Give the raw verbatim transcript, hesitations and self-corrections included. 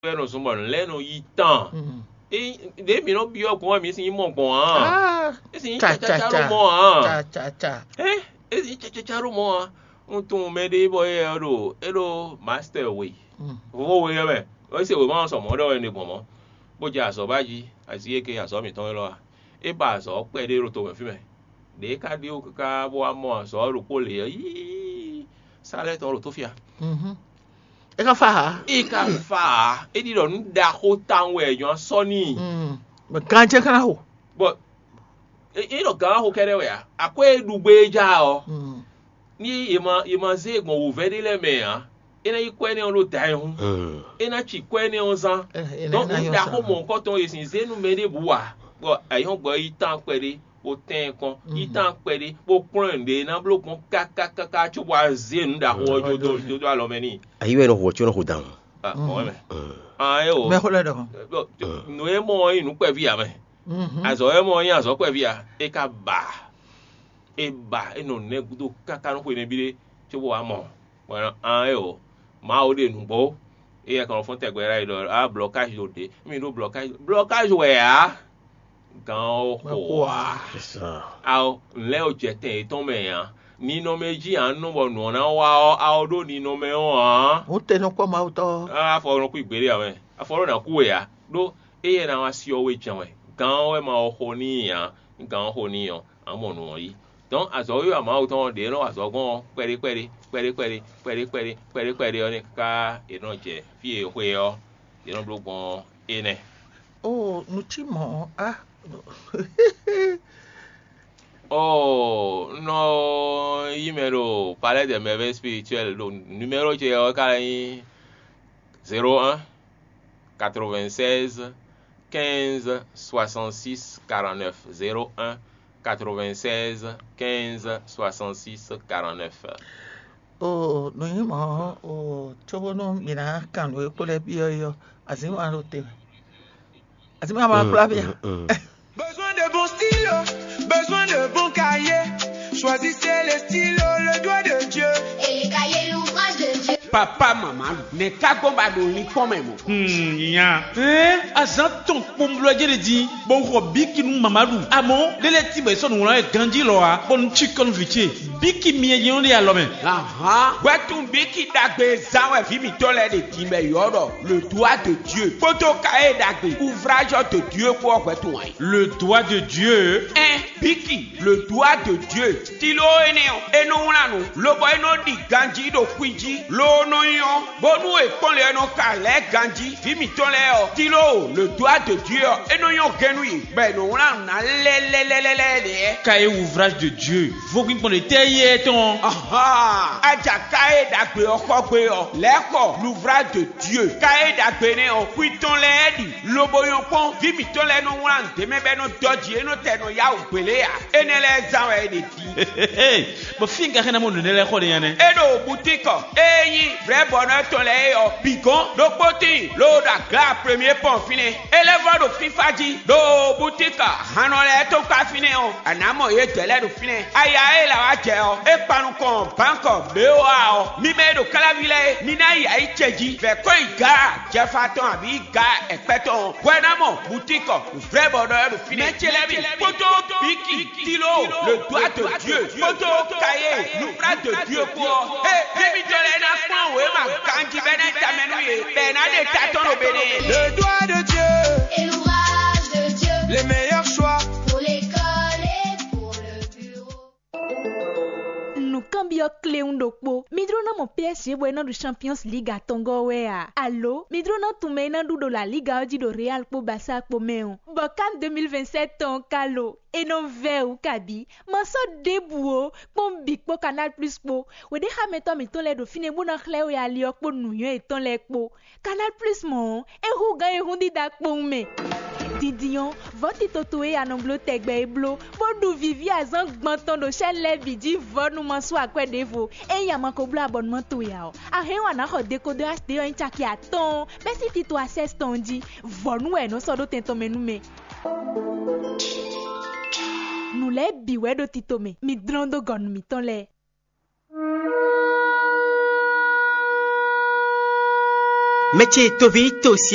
Wɛ nɔ zɔn bɔ nǔ lɛ́ɛ nɔ yi tán. Ɖěe mǐ nɔ byɔ́ gbɔn wɛ mǐ sin nyí mɔ gbɔn ǎ. É sin nyí cacaca ɖó mɔ ǎ. Ɛ é sin nyí cacaca ɖó mɔ ǎ. Un tunwun mɛɖé bɔ é ɔ́ ɖo é ɖó mastɛr we, vovo we ɔ́ mɛ. É se wěma ɔ́ sɔ mɔ̌ ɖɔ wɛ un ɖe gbɔn mɔ̌, bó jɛ azɔ̌ ba jí. Azǐ e ke azɔ̌ mǐtɔn élɔ́ a? É ba azɔ̌ kpɛɖé ɖo to mɛ fí mɛ. Ɖě é ka ɖíe wú káká bó wá mɔ azɔ̌ ɔ́ ɖokpó lě ɔ́, yíí, sá lɛ́ɛ tɔn ɖo tó fí a? É ka fa ǎ. É ka fa ǎ. É ɖi ɖɔ nǔ ɖaxó tawun wɛ è nyɔ́ sɔ́ n'i. Bɔ ganjɛ́ ka ná xo. Bɔ é ɖɔ gǎn xo kɛ́ɖɛ́ wɛ ǎ. Akwɛ́ e ɖu gbé é já ɔ́, ní è ma è ma zé e gbɔn wǔvɛ́ ɖé lɛ́ɛ mɛ ǎ, é ná yí kwɛ́ énɛ́ ɔ́ ɖó da ɛ hún. É ná ci kwɛ́ énɛ́ ɔ́ zán. Dɔn nǔ ɖaxó mɔ̌hunkɔtɔn e sin zé nú mɛ ɖěbǔ ǎ, bɔ ayǐhɔ́ngbe ɔ́ yí tán kpɛɖé, bó tɛ́n ɛ kɔn, yí tán kpɛɖé, bó kplɔ́n ɛ nǔɖé e ná bló gbɔn káká káká cóbɔ wá zé nǔ ɖaxó ɔ́ jó dó jó dó alɔ mɛ n'i. Ayi wɛ nɔ hu ɔ́ có nɔ xo dan. Mɔ̌ wɛ mɛ. An é o. Mɛ xó lɛ́ ɖɔ. Nǔ e mɔ ɔ́ nyí nǔ kpɛví ǎ mɛ. Azɔ̌ e mɔ ɔ́ nyí azɔ̌ kpɛví ǎ. É ka ba. É ba é nɔ nɛ́ gúdo káká nú xwe nɛbí ɖé, cóbó wá mɔ. Bɔ an é o. Mawu ɖe nǔgbó. Éyɛ́ kan fɔ́n tɛgbɛ ɖ'ayǐ ɖɔ á blɔkázi ɖo ɖě. Mì ɖó blɔkázi. Blɔkázi wɛ ǎ. Gǎn ɔ́ xo ǎ. Ao, nǔ lɛ́ɛ ɔ́ jɛ tɛn yětɔn mɛ ǎ. Ninɔmɛ jí ǎ nɔ bɔ nǔ ɔ́ ná wá ɔ́, ao ɖó ninɔmɛ ɔ́ ǎ. Hǔn te nɔ kpɔ́ Mawu tɔ́. Afɔ nɔ kú ìgbéɖé ǎ mɛ. Afɔ ɖó ná kú we ǎ. Ɖó éyɛ́ ná wá syɔ́ we jɛ́n wɛ. Gǎn ɔ́ wɛ ma ɔ xo n'i ǎ. Gǎn ɔ́ xo n'i ɔ́, ǎ mɔ nǔ ɔ́ yí. Dɔn azɔ̌wiwa Mawu tɔn ɔ́, ɖě e nɔ wa azɔ̌ gbɔn ɔ́, kpɛɖé kpɛɖé kpɛɖé kpɛɖé kpɛɖé kpɛɖé kpɛɖé kpɛɖé ɔ́ nɛ́ káká è nɔ jɛ fí e è xwe ɔ́, è nɔ bló gbɔn ɔ́, énɛ́. Oo, nǔ cí mɔ̌ ɔ́, á. Oo, un nɔ yí mɛ ɖo Palais des Merveilles Spirituelles, ɖo numéro ce ɔ́ ka nyí zéro un, quatre-vingt-seize, quinze, soixante-six, quarante-neuf, zéro un, quatre-vingt-seize, quinze, soixante-six, quarante-neuf. Oo, nǔ nyí mɔ̌, oo, cóbónú mǐ ná kan nǔ e kpo lɛ́ɛ byɔ́ é ɔ́, azǐn wǎn ɖo te wɛ. Azǐn wǎn ma kplá mì ǎ. Besoin de bon stylo, besoin de bon cahier. Choisissez le stylo, le doigt de Dieu. Et les cahiers, l'ouvrage de Dieu. Papa, maman, ne ka gbɔn ba ɖo linkpɔn mɛ mɔ. Hmm, nya. Ɛɛ, azan tɔn kpɔnblɔ jɛ de di, bɔ xɔ biki nu mama ɖu. Amɔ, lele ti bɛ sɔ nu wlan ganji lɔ wa, bɔ nu tsi kɔn vi ce. Biki miɛ jɛ de alɔ mɛ. Ahan, wɛtun biki dagbe zan wɛ vi mitɔ lɛ de di bɛ yɔ dɔ. Le doigt de Dieu. Kpoto ka e dagbe. Ouvrage de Dieu kpɔ wɛtun wɛ. Le doigt de Dieu. Ɛn, biki, le doigt de Dieu. Stylo énɛ́ ɔ́, é nɔ wlán nǔ, lobɔ é nɔ ɖi ganjí ɖo xwi jí, loo nɔ nyɔ́, bónú è kpɔ́n lě ɔ́ nɔ ka lɛ̌ ganjí. Vǐ mǐtɔn lɛ́ɛ ɔ́, stylo, le doigt de Dieu ɔ́, é nɔ nyɔ́ gɛ́n nú yě, bɔ è nɔ wlán nǔ ná lɛ́lɛ́lɛ́lɛ́ ɖě. Cahier ouvrage de Dieu, vodún gbɔn ɖě tɛ́ yí é tɔn. Ahan, aja cahier ɖagbe ɔ́ xɔ gbe ɔ́, lɛ̌ xɔ l'ouvrage de Dieu. Cahier ɖagbe nɛ́ ɔ́, xwi tɔn lɛ́ɛ ɖi, lobo nyɔ́ kpɔ́n, vǐ mǐtɔn lɛ́ɛ nɔ wlán nǔ ɖ'é mɛ bɔ é nɔ dɔ́ jǐ, é nɔ tɛ nɔ yá wǔ gbélé ǎ. Énɛ́ lɛ́ɛ zán wɛ è ɖe din. Bɔ fí un ka xɛ́ ná mɔ nǔ énɛ́ lɛ́ɛ xɔ ɖe nya nɛ́? É ɖo butíkɔ, ée nyí vrɛ̌ bɔnɔ tɔn lɛ́ɛ é ɔ́, bǐ gɔ́n ɖokpó tíin, ló ɖo aga premier pɔn fínɛ́. É lɛ́ vɔ́ ɖo fífá jí, ɖo butíkɔ hannɔ lɛ́ɛ tɔn kpá fínɛ́ ɔ́, a nǎ mɔ yědɛɛ lɛ́ɛ ɖo fínɛ́. Aya e la wá jɛ ɔ́, é kpan nukɔn bǎnkɔ B O A ɔ́. Mi mɛ e ɖo káláví lɛ́ɛ é, mi ná yi ayǐ ce jí, vɛ̌ kɔn yi gǎ jɛfa tɔn abǐ gǎ ɛkpɛ́ tɔn ɔ́, hwɛ ná mɔ butíkɔ vrɛ́ bɔ ɖɔ ɛ ɖo fínɛ́. Mɛ ce lɛ́ɛ mi kpódó bíkì, tíló, le doigt de Dieu, kpódó kayé, nubra de Dieu kpó ɔ́. Ée mí mitɔn lɛ́ɛ ná kplɔ́n wěma ganjí bɔ é ná yi tamɛ nú yě, bɔ è nǎ ɖe ta tɔn ɖo Benin. Le doigt de Dieu, et l'ouvrage de Dieu, les meilleurs choix pour l'école et pour le bureau. Nǔkanbyɔ́ kléwún ɖokpó. Mi jló ná mɔ P S G bɔ é ná ɖu Champions League atɔngɔ́ wɛ a? Alo mi jló ná tunwun mɛ e ná ɖu ɖo La Liga ɔ́ jí ɖo Real kpó Barça kpó mɛ ɔ́? Bɔ kan deux mille vingt-sept tɔn ɔ́ ka lo? É nɔ vɛ́ wǔ kabǐ. Ma sɔ́ ɖěbǔ ó, kpɔ́n bǐ kpó Canal Plus kpó. Wěɖéxámɛtɔ́ mǐtɔn lɛ́ɛ ɖo fínɛ́ bó ná xlɛ́ we ali ɔ́ kpó nǔnywɛ́ yětɔn lɛ́ɛ kpó. Canal Plus mɔ̌ ɔ́, é hú gǎn e hún dídá kpowun mɛ. Dindin ɔ́, vɔ̌ tito towe e a nɔ bló tɛgbɛ é bló, bó ɖu vǐví azǎn gbɔn tɔn ɖo chaîne lɛ́ɛ bǐ jí vɔ̌ nú ma sú akwɛ́ ɖěvo. Ényí a ma ko bló abɔnumán towe ǎ ɔ́, a hɛn ɔ́ a nǎ xɔ dekodɔ H D ɔ́ nyí caki atɔ́ɔ́n bɛ́ sín tito Access tɔn jí. Vɔ̌ nú wɛ è nɔ sɔ́ ɖó tɛn tɔn mɛ nú mɛ. Nǔ lɛ́ɛ bǐ wɛ ɖo tito mɛ, mi dlɔ́n dó gɔ̌ nú mǐtɔn lɛ́ɛ. Mɛ ce toví to si